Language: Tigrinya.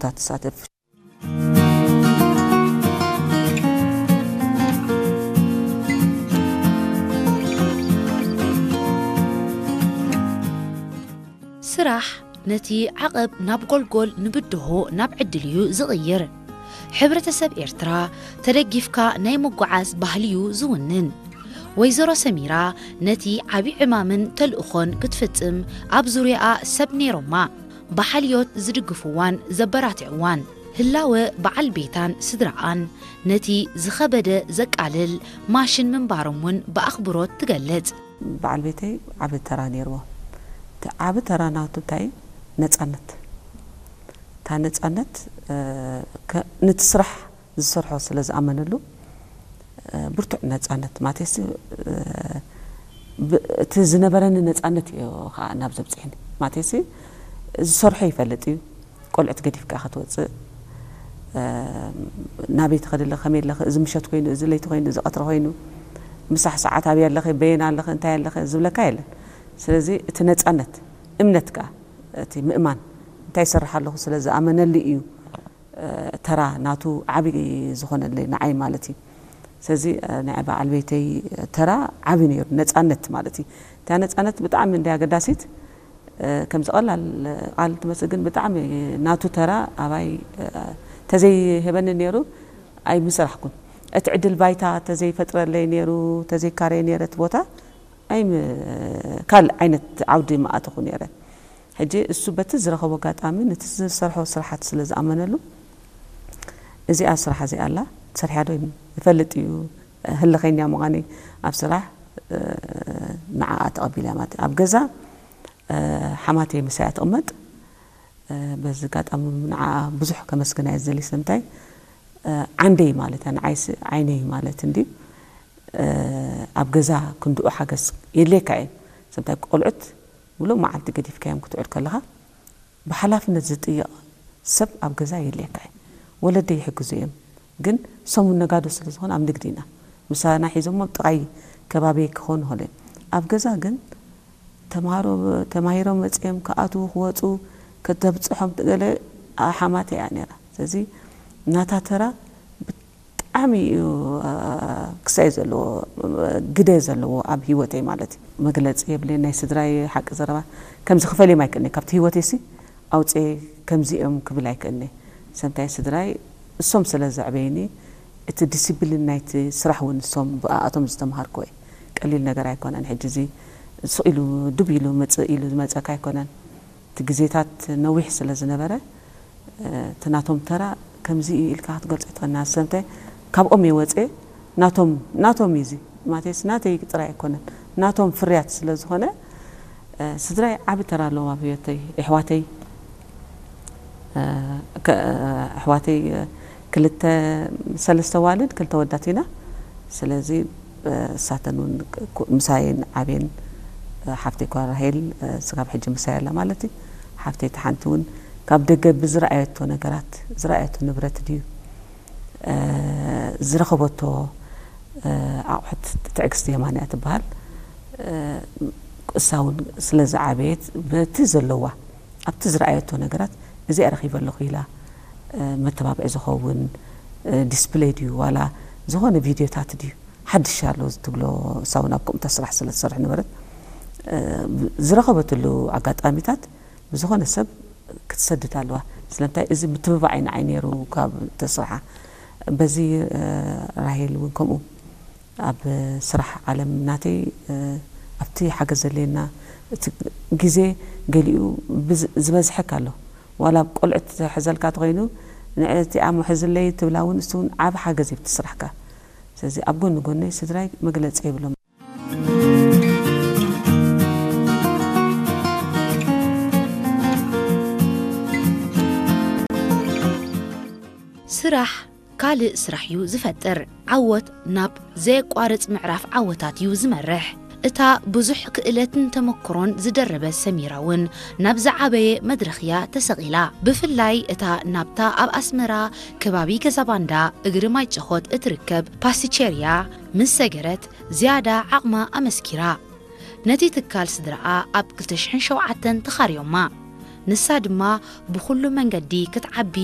ትሳተፍ። ስራሕ ነቲ ዓቐብ ናብ ጎልጎል፣ ንብድሆ ናብ ዕድል እዩ ዝቕይር። ሕብረተሰብ ኤርትራ ተደጊፍካ ናይ ምጉዓዝ ባህሊ እዩ ዝውንን። ወይዘሮ ሰሚራ ነቲ ዓቢ ዕማምን ተልእኾን ክትፍጽም ኣብ ዙርያኣ ሰብ ነይሮማ፣ ብሓልዮት ዝድግፍዋን ዘበራትዕዋን። ህላወ በዓል ቤታን ስድራኣን ነቲ ዝኸበደ ዘቃልል ማሽን ምንባሮም እውን ብኣኽብሮት ትገልጽ። በዓል ቤተይ ዓቢ ተራ ነይርዎ። እቲ ዓቢ ተራ ናቱ እንታይ እዩ? ነጻነት። እታ ነጻነት፣ እ፣ ከ-፣ ነቲ ስራሕ ዝሰርሖ ስለ ዝኣመነሉ፣ እ፣ ብርቱዕ ነጻነት ማለትሲ፣ እ፣ ብ-፣ እቲ ዝነበረኒ ነጻነት እዩ ኸዓ ናብ ዘብጽሕኒ። ማለትሲ ዝሰርሖ ይፈልጥ እዩ። ቆልዑት ገዲፍካ ክትወጽእ፣ እ፣ ናበይ ትኸዲ ኣለኺ፣ ከመይ ኣለኺ፣ እዚ ምሸት ኮይኑ፣ እዚ ለይቲ ኮይኑ፣ እዚ ቀትሪ ኮይኑ፣ ምሳሕ ሰዓት ኣበይ ኣለኺ፣ በየን ኣለኺ፣ እንታይ ኣለኺ ዝብለካ የለን። ስለዚ እቲ ነጻነት፣ እምነት ከኣ፣ እቲ ምእማን፣ እንታይ ይሰርሕ ኣለኹ ስለ ዝኣመነሉ እዩ፣ እ፣ ተራ ናቱ ዓቢ ዝኾነለይ ንዓይ ማለት እዩ። ስለዚ፣ እ፣ ናይ በዓል ቤተይ ተራ ዓቢ ነይሩ፣ ነጻነት ማለት እዩ። እታ ነጻነት ብጣዕሚ እንድያ ኣገዳሲት። እ፣ ከምዚ ቀላል ቃል ትመስል፣ ግን ብጣዕሚ ናቱ ተራ ኣባይ፣ እ፣ ተዘይህበኒ ነይሩ ኣይምሰራሕኩን። እቲ ዕድል ባይታ ተዘይፈጥረለይ ነይሩ፣ ተዘይካረየ ነይረ እቲ ቦታ፣ ኣይም-፣ ካልእ ዓይነት ዓውዲ ምኣተኹ ነይረ። ሕጂ እሱ በቲ ዝረኸቦ ኣጋጣሚ ነቲ ዝሰርሖ ስራሓት ስለ ዝኣመነሉ፣ "እዚኣ ስራሕ እዚኣ ኣላ፣ ትሰርሕያ ዶ?" ይፈልጥ እዩ ህልኸኛ ምዃነይ ኣብ ስራሕ፣ እ፣ ንዓኣ ተቐቢለ ማለት እዩ። ኣብ ገዛ፣ እ፣ ሓማተይ ምሳያ ትቕመጥ። እ፣ በዚ ኣጋጣሚ ንዓኣ ብዙሕ ከመስግና እየ ዝደሊ። ስለምንታይ? እ፣ ዓንደይ ማለት እያ፣ ንዓይሲ ዓይነይ ማለት እንድዩ። እ፣ ኣብ ገዛ ክንድኡ ሓገዝ የድልየካ እዩ። ስለምንታይ? ቆልዑት ምሉእ መዓልቲ ገዲፍካዮም ክትውዕል ከለኻ፣ ብሓላፍነት ዝጥይቕ ሰብ ኣብ ገዛ የድልየካ እዩ። ወለደይ ይሕግዙ እዮም፣ ግን ሰሙን ነጋዶ ስለ ዝኾነ ኣብ ንግዲ ኢና። ምሳና ሒዞሞ ኣብ ጥቓይ ከባቢይ ክኾኑ ይኽእሉ እዮም። ኣብ ገዛ ግን ተምሃሮ ተማሂሮም መጺኦም ክኣትዉ ክወጹ ከተብጽሖም ገለ ሓማተይ እያ ነይራ። ስለዚ ናታ ተራ ብጣዕሚ እዩ፣ አ፣ ክሳይ ዘለዎ፣ ግደ ዘለዎ ኣብ ህይወተይ ማለት እዩ። መግለጺ የብለይን፣ ናይ ስድራይ ሓቂ ዘረባ ከምዚ ክፈልዮም ኣይክእልን'የ። ካብቲ ህይወተይሲ ኣውጽኤ ከምዚ እዮም ክብል ኣይክእልን'የ። ሰምታይ ስድራይ እሶም ስለ ዘዕበዩኒ፣ እቲ ዲሲፕሊን ናይቲ ስራሕ እውን እሶም ብኣኣቶም ዝተምሃርኩዎ እዩ። ቀሊል ነገር ኣይኮነን። ሕጂ እዚ ስቕ ኢሉ ድብ ኢሉ ምጽእ ኢሉ ዝመጸካ ኣይኮነን። እቲ ግዜታት ነዊሕ ስለ ዝነበረ፣ እ፣ እቲ ናቶም ተራ ከምዚ እዩ ኢልካ ክትገልጾ ኣይትኽእልን። ሰምታይ ካብኦም እየ ወጽኤ፣ ናቶም፣ ናቶም እዩ እዚ። ማለትስ ናተይ ጥራይ ኣይኮነን፣ ናቶም ፍርያት ስለ ዝኾነ፣ እ፣ ስድራይ ዓቢ ተራ ኣለዎም ኣብ ህይወተይ። ኣሕዋተይ፣ እ፣ ከ-፣ ኣሕዋተይ፣ እ፣ ክልተ፣ ሰለስተ ኣዋልድ፣ ክልተ ኣወዳት ኢና። ስለዚ፣ እ፣ እሳተን እውን ክ-፣ ክ-፣ ምሳየን ዓብየን፣ እ፣ ሓፍተይ ኳ ራሄል፣ እ፣ ስጋብ ሕጂ ምሳይ ኣላ ማለት እዩ። ሓፍተይ እታ ሓንቲ እውን ካብ ደገ ብዝረኣየቶ ነገራት፣ ዝረኣየቶ ንብረት ድዩ፣ እ፣ ዝረኸበቶ፣ እ፣ ኣቑሑት፣ ትዕግስቲ የማነ እያ ትበሃል። እ፣ እሳ እውን ስለ ዝዓበየት በቲ ዘለዋ፣ ኣብቲ ዝረኣየቶ ነገራት፣ "እዚኣ ረኺበ ኣለኹ" ኢላ፣ እ፣ መተባብዒ ዝኸውን፣ እ፣ ዲስፕለይ ድዩ ዋላ ዝኾነ ቪድዮታት ድዩ ሓድሽ ኣሎ ትብሎ፣ እሳ እውን ኣብ ከምኡታ ስራሕ ስለ ትሰርሕ ነበረት፣ እ፣ ዝረኸበትሉ ኣጋጣሚታት ብዝኾነ ሰብ ክትሰድድ ኣለዋ። ስለምንታይ? እዚ ምትብባዕ እዩ ንዓይ ነይሩ ካብ ተስርሓ። በዚ፣ እ፣ ራሄል እውን ከምኡ ኣብ ስራሕ ዓለም ናተይ፣ እ፣ ኣብቲ ሓገዝ ዘድልየና፣ እቲ ግዜ ገሊኡ ብዝ-፣ ዝበዝሐካ ኣሎ። ዋላ ኣብ ቆልዑት ዝሕዘልካ ተኾይኑ፣ "ንዕእቲ ኣሞ ሕዝለይ" ትብላ እውን፣ እሱ እውን ዓቢ ሓገዝ እዩ ኣብቲ ስራሕካ። ስለዚ ኣብ ጎኒ ጎነይ ስድራይ መግለጺ የብሎም። ስራሕ ካልእ ስራሕ እዩ ዝፈጥር። ዓወት ናብ ዘየቋርጽ ምዕራፍ ዓወታት እዩ ዝመርሕ። እታ ብዙሕ ክእለትን ተመክሮን ዝደረበት ሰሚራ እውን ናብ ዝዓበየ መድረኽ እያ ተሰቒላ። ብፍላይ እታ ናብታ ኣብ ኣስመራ ከባቢ ገዛ ባንዳ እግሪ ማይ ጨኾት እትርከብ ፓስቲቸርያ ምስ ሰገረት ዝያዳ ዓቕማ ኣመስኪራ። ነቲ ትካል ስድራኣ ኣብ ክልተ ሽሕን ሸውዓተን ተኻርዮማ። ንሳ ድማ ብኹሉ መንገዲ ክትዓቢ